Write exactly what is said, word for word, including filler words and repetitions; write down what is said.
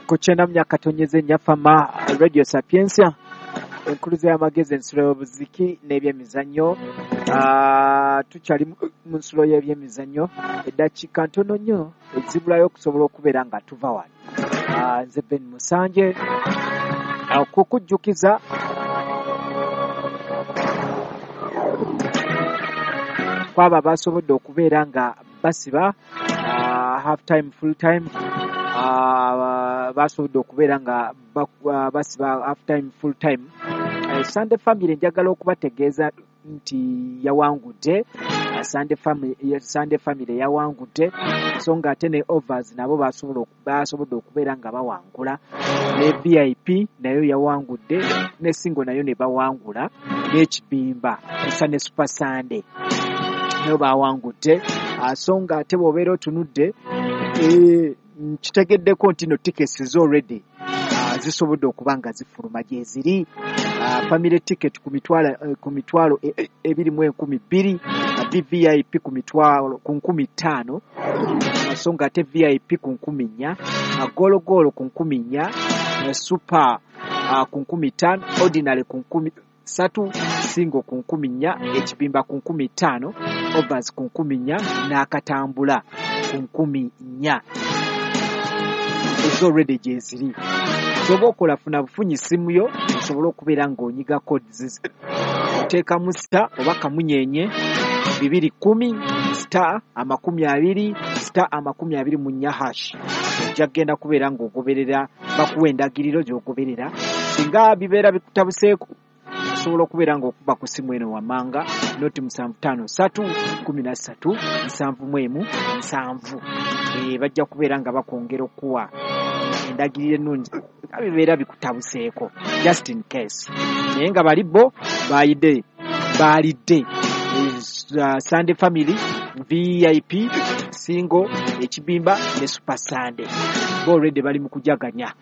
Ku kyenda mu myaka tonyeze Nyafama Radio Sapientia, enkuluza y'amagezi, ensulo y'obuziki n'ebyemizannyo. Ah, tukyali mu mu nsulo y'ebyemizannyo, eddakiika ntono nnyo ezibulayo okusobola okubeera nga tuva wano. Ah, nze Ben Musanje. Ah, kukujjukiza kwabo abasobodde okubeera nga basiba ah, half time, full time, ah, basobodde okubeera nga bak- ah, basiba half time, full time. Eh, Sunday Family, njagala okubategeeza nti yawangudde. Ah, Sunday Family, Sunday Family yawangudde, so nga ate ne overs nabo basobola oku- basobodde okubeera nga bawangula, ne V I P nayo yawangudde, ne single nayo ne bawangula, n'ekibimba esa ne Super Sunday nayo bawangudde. Ah, so nga ate bw'obeera otunudde, eh, nkitegeddeko nti no tickets zo already ah, zisobodde okuba nga zifuluma gyeziri. Ah, family ticket ku mitwalo eh, ku mitwalo e- e- ebiri mu enkumi bbiri, ah, V V I P ku mitwalo ku nkumi ttaano, ah, so nga ate V I P ku nkumi nnya, ah, gologolo ku nkumi nnya, eh, super ah, ku nkumi ttaano, ordinary ku nkumi ssatu, single ku nkumi nnya, ekibimba ku nkumi ttaano, overs ku nkumi nnya, n'akatambula ku nkumi nnya. Ezo already gyeziri. Kyoba okola, funa bufunyi simu yo osobole okubeera ng'onyiga codes. Oteekamu star oba kamunyenye bibiri kumi star amakumi abiri star amakumi abiri mu nnya hash. Ojja kugenda kubeera ng'ogoberera, bakuwa endagiriro gy'ogoberera. Singa bibeera bikutabuseeko, osobola okubeera ng'okuba ku simu eno wammanga, noti musanvu ttaano ssatu kumi na ssatu nsanvu mu emu nsanvu. Eh, bajja kubeera nga bakwongera okuwa endagiriro ennungi nga bibeera bikutabuseeko, just in case. Naye nga bali bo bayidde, baalidde. Uh, Sunday Family, V I P, single, ekibimba ne Super Sunday, bo already bali mu kujaganya.